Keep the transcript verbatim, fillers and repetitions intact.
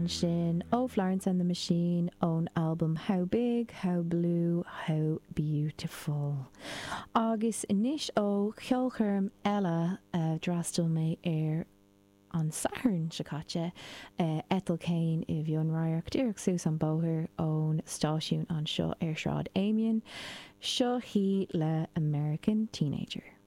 Ansin ó Florence and the Machine ón albam How Big, How Blue, How Beautiful. Agus anois ó cheolchoirm eile a d'fhreastail mé air an Satharn seo caite uh, Ethel Cain i bhFionnradharc díreach suas an bóthar ón stáisiún anseo ar Sráid Amiens, seo hí le American Teenager.